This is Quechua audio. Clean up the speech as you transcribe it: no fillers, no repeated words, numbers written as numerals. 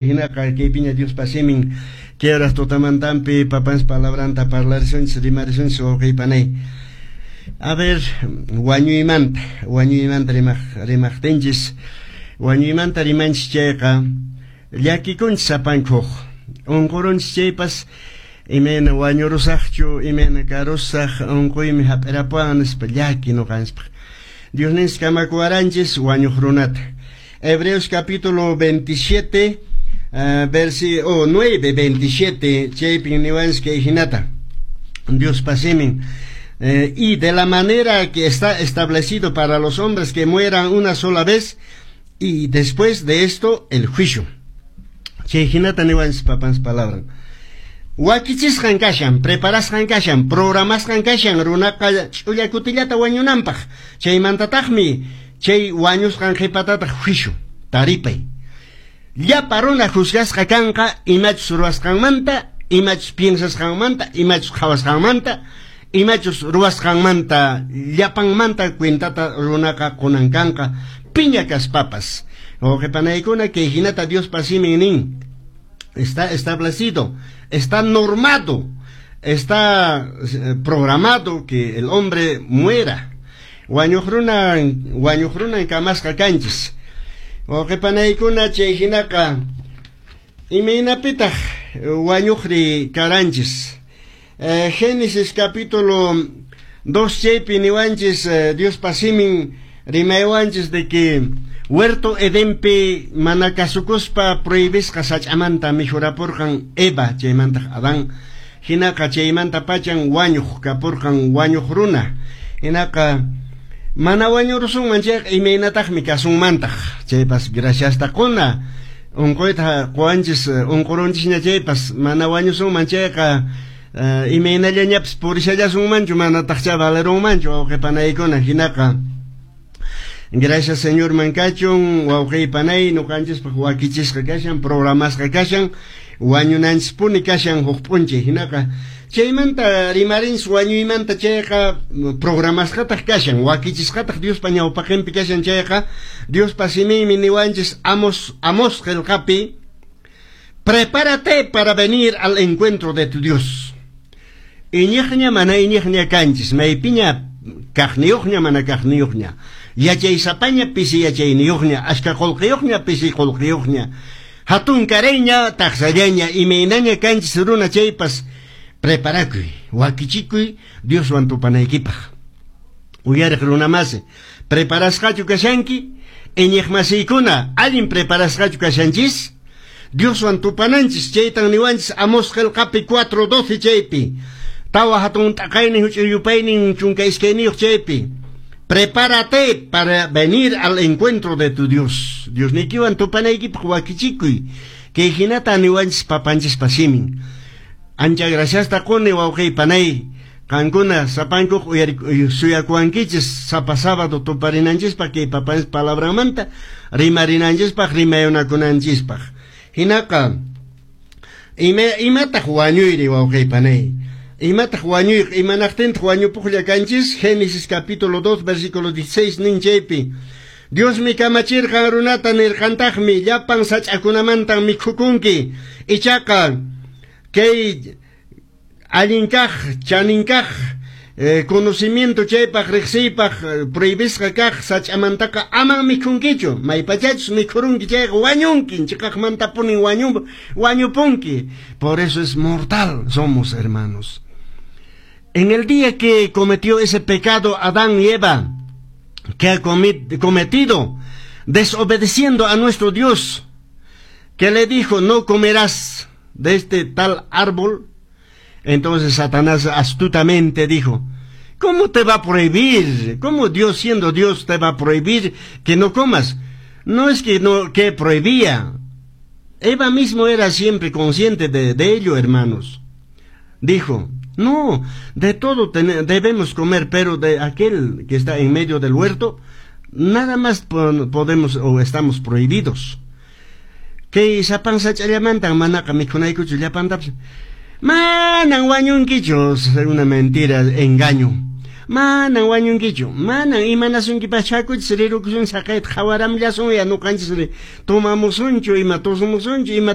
Hinaqa kaypiña Diospa simin kay horas tutamantanpi papanchis palabranta parlarisunchis rimarisunchis wawqiy panay. A ver, wañuymanta, wañuymanta rimaq rimaqtinchis, wañuymanta rimanchis chayqa llakikunchis sapankuq, unqurunchis chaypas imayna wañurusaqchu, imayna karusaq, unquymi hap'irapuwan nispa llaki nuqanchispaq. Diosninchis kamakuwaranchis wañuq runata. Hebreos capítulo 27, versículo 9, 27, chaypin niwanchis kay hinata. Diospa simin. Y de la manera que está establecido para los hombres que mueran una sola vez, y después de esto el juicio. Chay hinata niwanchis papanchis palabra. Wakichisqan kashan, preparasqan kashan, programasqan kashan runaqa ch'ulla kutillata wañunanpaq. Chaymantataqmi chay wañusqan qhipatataq juicio, taripay. Llapa runa juzgasqa kanqa imachus ruwasqanmanta, imachus piensasqanmanta, imachus qhawasqanmanta, imachus ruwasqanmanta, llapanmanta cuentata runaqa qunan kanqa piña kaspapas. Wawqipanaykuna kay hinata Diospa simin nin. Está establecido, está normado, está programado que el hombre muera. Wañuq runan, wañuq runan kamasqa kanchis. Wawqipanaykuna chay hinaqa imaynapitaq wañuqri karanchis. Génesis capítulo 2 chaypi niwanchis Diospa simin rimaywanchis de que huerto Edenpi mana kasukuspa prohibisqa sach'amanta mikhurapurqan Eva chaymantaq Adán. Hinaqa chaymanta pachan wañuq kapurqan wañuq runa. Hinaqa mana wañurusunman chayqa imaynataqmi kasunmantaq. Chaypas graciasta quna. Unquyta quwanchis unqurunchisña chaypas mana wañusunman chayqa imaynallañapas purishallasunmanchu manataqcha valerunmanchu wawqipanaykuna. Hinaqa gracias Señorman kachun wawqipanay nuqanchispaq wakichisqa kashan programasqa kashan wañunanchispuni kashan huk p'unchay. Hinaqa chaymanta rimarinchis wañuymanta chayqa programasqataq kashan wakichisqataq Diospa ñawpaqinpi kashan chayqa Diospa siminmi niwanchis Amos Amos qillqapi prepárate para venir al encuentro de tu Dios. Iñiqña mana iñiqña kanchis maypiña kaqniyuqña mana kaqniyuqña yachaysapaña pisi yachayniyuqña achka qullqiyuqña pisi qullqiyuqña hatun karayña taqsallaña imaynaña kanchis runa chaypas preparakuy wakichikuy Dioswan tupanaykipaq. Uyariq runamasi preparasqachu kashanki iñiqmasiykuna allin preparasqachu kashanchis Dioswan tupananchis chaytan niwanchis Amos qillqapi 4:12 chaypi tawa hatun t'aqaynin huch'uy yupaynin chunka iskayniyuq chaypi prepárate para venir al encuentro de tu Dios. Diosniykiwan tupanaykipaq wakichikuy kay hinata niwanchis papanchispa simin. Ancha graciasta quni wawqiy panay qankuna sapankuq suyakuwankichis sapa sábado tuparinanchispaq kay papanchis palabranmanta rimarinanchispaq rimayunakunanchispaq. Hinaqa imataq wañuyri wawqiy panay imataq wañuy imanaqtintaq wañupuqlla kanchis Génesis capítulo 2 versículo 16 nin chaypi Diosmi kamachirqan runata nirqantaqmi llapan sach'akunamantan mikhukunki ichaqa kay allin kaq chanin kaq conocimiento chaypaq riqsiypaq prohibisqa kaq sach'amantaqa aman mikhunkichu maypachachus mikhurunki chayqa wañunki chiqaqmantapunin wañupunki. Por eso es mortal somos, hermanos. En el día que cometió ese pecado Adán y Eva, que ha cometido desobedeciendo a nuestro Dios, que le dijo no comerás de este tal árbol, entonces Satanás astutamente dijo, ¿cómo te va a prohibir? ¿Cómo Dios siendo Dios te va a prohibir que no comas? No es que no que prohibía. Eva mismo era siempre consciente de ello, hermanos. Dijo, no, de todo debemos comer, pero de aquel que está en medio del huerto, nada más podemos o estamos prohibidos. Kay sapan sach'allamantan manaqa mikhunaykuchu llapantapas. Manan wañunkichu, una mentira, engaño. Manan wañunkichu, manan imanasunkipaschu, hakuchis rirukusun saqayta qhawaramllasun ya nuqanchis tomamusunchu, ima tusumusunchu, ima.